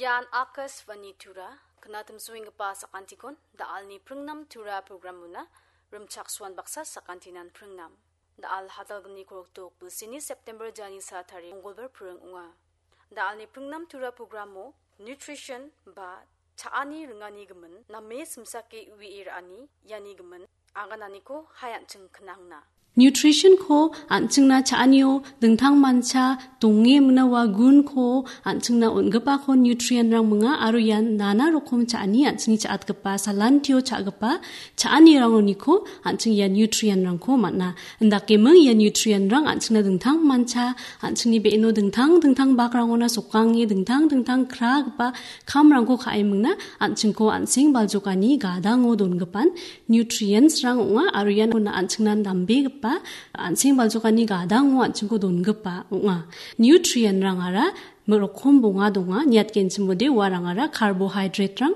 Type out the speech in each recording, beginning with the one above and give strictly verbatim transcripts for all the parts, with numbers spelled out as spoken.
Ian Akashvani Tura, knatimsoenggipa sakantikon, da·alni pringnam Tura programona, rimchaksoan baksa sakantinan pringnam. Da·al hadalgni korokdok bilsini September jani sa tarik Mongolbar pring ong·a. Da·alni pringnam Tura programo nutrition ba cha·ani ringani gimin, name simsake uie ra·ani iani gimin, agananiko hai an·ching knangna. Nutrition-ko an·chingna cha·anio dingtangmancha donge mingna ua gunko an·chingna on·gipako nutrient-rang minga aro ian nana rokom cha·ani an·chingni cha·atgipa salantio cha·gipa cha·anirangoniko an·ching ia nutrient-rangko man·a. Indakeming ia nutrient-rang an·chingna dingtangmancha, an·chingni be·eno dingtang dingtang bakrangona sokange dingtang dingtang kragipa kamrangko ka·e mingna an·chingko an·seng baljokani gadango dongipan nutrients-rang ong·a aro ian an·chingna nambegipa an·seng baljokani gadango an·chingko dongipa ong·a. Nutrient-rangara rokom bonga donga, niatgenchimode uarangara carbohydrate-rang,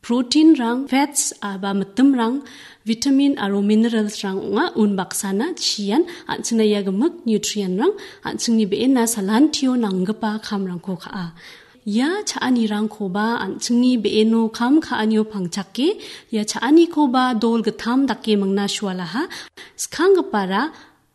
protein-rang, fats aba mitimrang, vitamin aro minerals-rang ong·a. Unbaksana chian an·chingna ia gimik nutrient-rang an·chingni be·ena salantio nanggipa kamrangko ka·a. Ia cha·anirangkoba an·chingni be·eno kam ka·anio pangchake, ia cha·anikoba dol gittam dake mingna sualaha. Skanggipara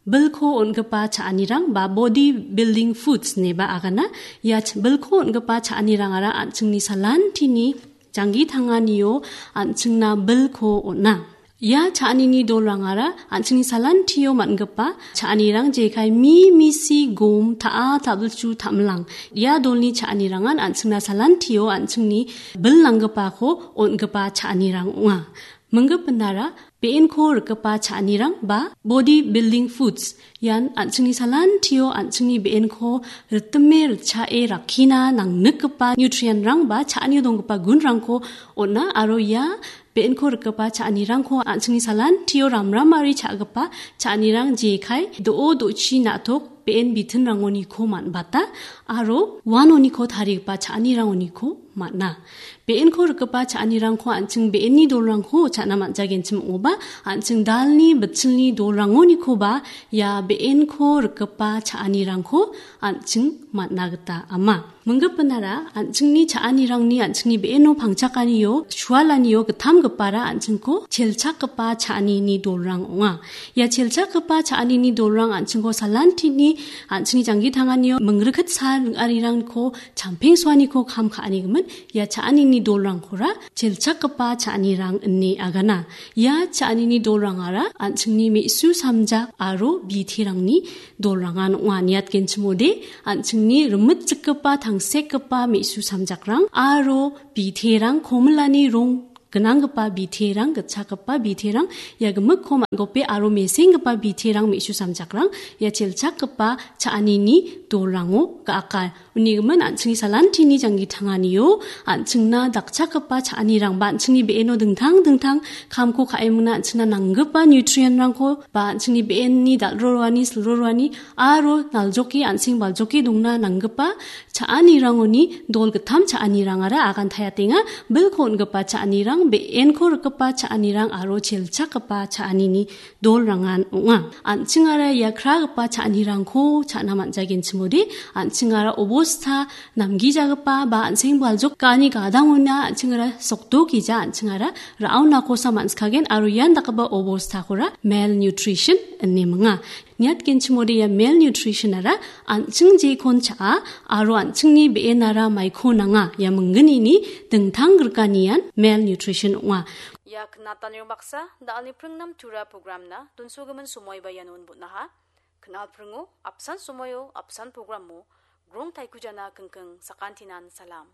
bilko on·gipa cha·anirang ba body building foods ineba agana. Ia ch-, bilko on·gipa cha·anirangara an·chingni salantini janggi tanganio an·chingna bilko on·a. Ia cha·anini dolrangara an·chingni salantio man·gipa cha·anirang jekai mi, misi, gom, ta·a, ta·bilchu, ta·milang. Ia dolni cha·anirangan an·chingna salantio an·chingni bil nanggipako on·gipa cha·anirang ong·a. Minggipinara be·enko rikgipa cha·anirang ba body building foods. Ian an·chingni salantio an·chingni be·enko ritime ritchae rakkina nangnikgipa nutrient-rang ba cha·anio donggipa gunrangko on·a aro ia be·enko rikgipa cha·anirangko an·chingni salantio ramramari cha·gipa cha·anirang jekai do·o do·chi na·tok be·en bitinrangoniko man·bata aro uanoniko tarigipa cha·anirangoniko man·a. Be·enko rikgipa cha·anirangko an·ching be·enni dolrangko cha·na man·jagenchim ong·oba, an·ching dalni bitchilni dolrangonikoba ia be·enko rikgipa cha·anirangko an·ching man·na gita ama. Minggipinara an·chingni cha·anirangni an·chingni be·eno pangchakanio, sualanio gittamgipara an·chingko chelchakgipa cha·anini dolrang ong·a. Ia chelchakgipa cha·anini dolrang an·chingko salantini an·chingni janggi tanganio mingrikit sal ring·arirangko champengsoaniko kam ka·anigimin ia cha·anini dolrangkora chelchakgipa cha·anirang ine agana. Ia cha·anini dolrangara an·chingni me·su samjak aro biterangni dolrangan ong·a. Niatgenchimode an·chingni rimitjikgipa tangsekgipa me·su samjakrang aro biterang komilani rong gnanggipa biterang, gitchakgipa biterang, ia gimikko man·gope aro mesenggipa biterang me·su samjakrang, ia chelchakgipa cha·anini dolrango ga·aka. Unigimin an·chingni salantini janggi tanganio an·chingna dakchakgipa cha·anirangba an·chingni be·eno dingtang dingtang kamko ka·emingna an·chingna nanggipa nutrient-rangko ba an·chingni be·enni dal·roroani, silroroani aro naljoke an·seng baljoke dongna nanggipa cha·anirangoni dol gittam cha·anirangara agantayatenga. Bilko on·gipa cha·anirang, be·enko rikgipa cha·anirang aro chelchakgipa cha·anini dolrangan ong·a. An·chingara ia kragipa cha·anirangko cha·na man·jagenchimode, an·chingara obosta namgijagipa ba an·seng baljok ga·ani gadangona an·chingara sokdokija an·chingara ra·onakosa man·sikagen aro ian dakgipa obostakora malnutrition ine minga. Niatgenchimode ia malnutrition-ara an·ching jekon cha·a aro an·chingni be·enara maiko nanga ia minggnini dingtang griganian malnutrition ong·a. Ia knatanirang baksa, da·alni pringnam tura programna donsogimin somoiba iano on·botnaha. Knal pringo, apsan somoio, apsan programo, grong taikujana kingking sakantinan salam.